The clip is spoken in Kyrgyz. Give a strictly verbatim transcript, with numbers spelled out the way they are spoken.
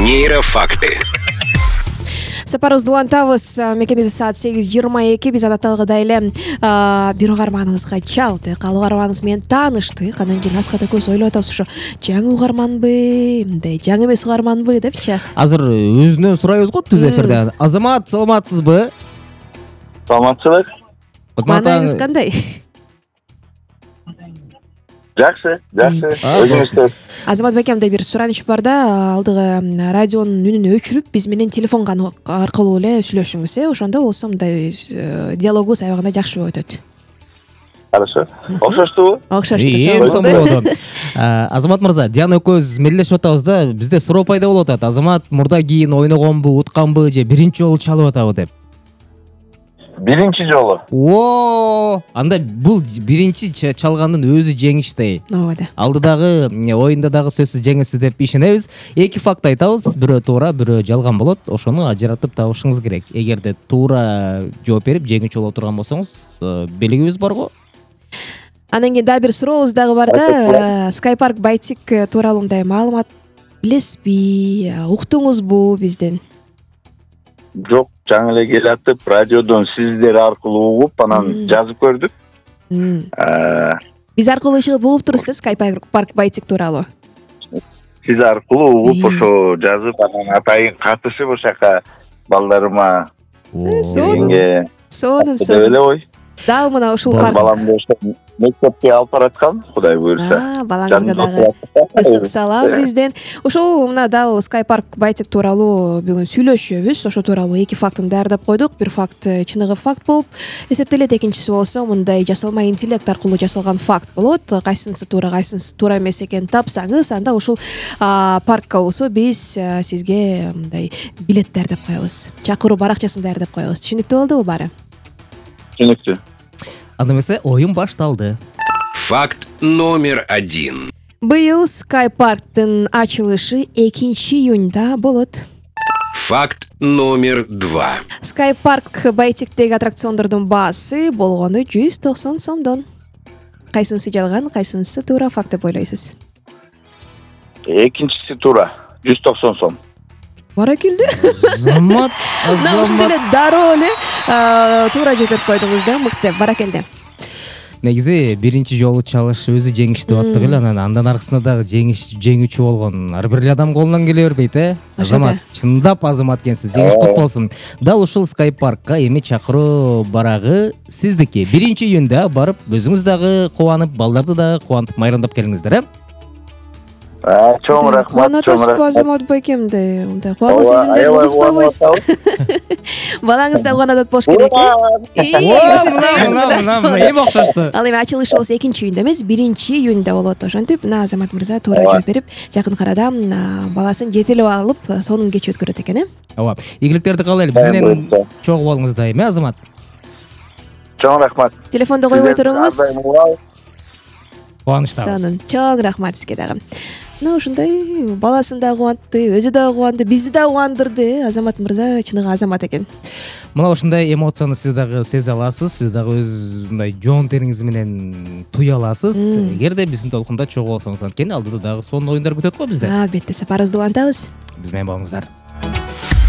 Нейрофакты. Сапарыбызды улантабыз. Мекениде саат сегиз жыйырма эки. Биз адатталгыдай эле бир угарманыбызга чалдык. Ал угарманыбыз менен тааныштык. Андан кийин аскада көз ойлоп атабыз, ушу жаңы угарманбы, мындай жаңы эмес угарманбы депчи. Азыр өзүнөн сурайбыз го түз эфирде. Азамат, саламатсызбы? Саламатчылык. Маанайыңыз кандай? Жакшы, жакшы. Өзүңүзчү? Азамат бекемде бир сураныч бар да, алдыгы радионун үнүн өчүрүп, биз менен телефон аркылуу эле сүйлөшүңүз, э, ошондо болсо мындай диалогубуз аябагында жакшы болуп өтөт. Хорошо. Окшоштубу? Окшошту. Эң сонун болот. Азамат мырза, Диана экөөбүз мелдешип атабыз да, бизде суроо пайда болуп атат. Азамат мурда кийин ойногонбу, утканбы же биринчи жолу чалып атабы деп. Биринчи жолу. О, анда бул биринчи чалгандын өзү жеңиштей. Ооба да. Алдыдагы оюнда дагы сөзсүз жеңесиз деп ишенебиз. Эки факт айтабыз, бирөө туура, бирөө жалган болот. Ошону ажыратып табышыңыз керек. Эгерде туура жооп берип жеңүүчү боло турган болсоңуз, белгибиз барго. Андан кийин дагы бир сурообуз дагы бар да. Skypark Байтик тууралуу мындай маалымат билесизби, уктуңузбу бизден? Жок, жаңы эле келатып, радиодон сиздер аркылуу угуп, анан жазып көрдүк. Биз аркылуу чыгып угуп турсуз, Skypark Байтик тууралуу. Сиз аркылуу угуп, ошо жазып, анан атайын катышып ошака балдарыма сонун. Сонун, деп эле ой. Дал мына ушул парк. Баламды ошо мектепке алып бараткан, Кудай буйруса. Балаңызга дагы ысык салам бизден. Ушул мына дал Skypark Байтик тууралуу бүгүн сүйлөшөбүз. Ошо тууралуу эки фактын даярдап койдук. Бир факт чыныгы факт болуп эсептелет, экинчиси болсо мындай жасалма интеллект аркылуу жасалган факт болот. Кайсынысы туура, кайсынысы туура эмес экенин тапсаңыз, анда ушул паркка болсо биз сизге мындай билет даярдап коебуз. Чакыруу баракчасын даярдап коебуз. Түшүнүктүү болдубу баары? Түшүнүктүү. Анда эмесе оюн башталды. Факт номер один. Быйыл Skypark'тын ачылышы экинчи июнда болот. Факт номер два. Skypark Байтиктеги аттракциондордун баасы болгону жүз токсон сомдон. Кайсынысы жалган, кайсынысы туура факт деп ойлойсуз? Экинчиси туура, жүз токсон сом. Баракелде. Азамат, Азамат. Ушундай эле дароо эле туура жооп берип койдуңуз да, мыкты, баракелде. Негизи биринчи жолу чалыш өзү жеңиш деп аттык эле, анан андан аркысында дагы жеңиш жеңүүчү болгон ар бир адам колунан келе бербейт, э? Азамат, чындап Азамат экенсиз. Жеңиш кут болсун. Дал ушул Skypark'ка эми чакыруу барагы сиздики. биринчи июнда барып, өзүңүз дагы кубанып, балдарды дагы кубантып майрамдап келиңиздер, э? Чоң рахмат. Кубанып атасызбы Азамат байкемдей? Мындай кубануу сезимдерин бузбойбуз. Балаңыз да кубанат болуш керек, э? Эми окшошту. Ал эми ачылыш болсо экинчи июнда эмес, биринчи июнда болот. Ошентип, мына Азамат мырза туура жооп берип, жакын арада баласын жетелеп алып, сонун кеч өткөрөт экен, э? Ооба. Ийгиликтерди каалайлы. Биз менен чогуу болуңуз дайым, э, Азамат? Чоң рахмат. Телефонду койбой туруңуз. Кубанычтабыз. Сонун. Чоң рахмат сизге дагы. Мына ушундай баласын да кубантты, өзү да кубанды, бизди да кубандырды. Азамат мырза чыныгы Азамат экен. Мына ушундай эмоцияны сиз дагы сезе аласыз, сиз дагы өз мындай жоон териңиз менен туя аласыз. Эгерде биздин толкунда чогуу болсоңуз, анткени алдыда дагы сонун оюндар күтөт го бизди. Албетте, сапарыбызды улантабыз. Биз менен болуңуздар.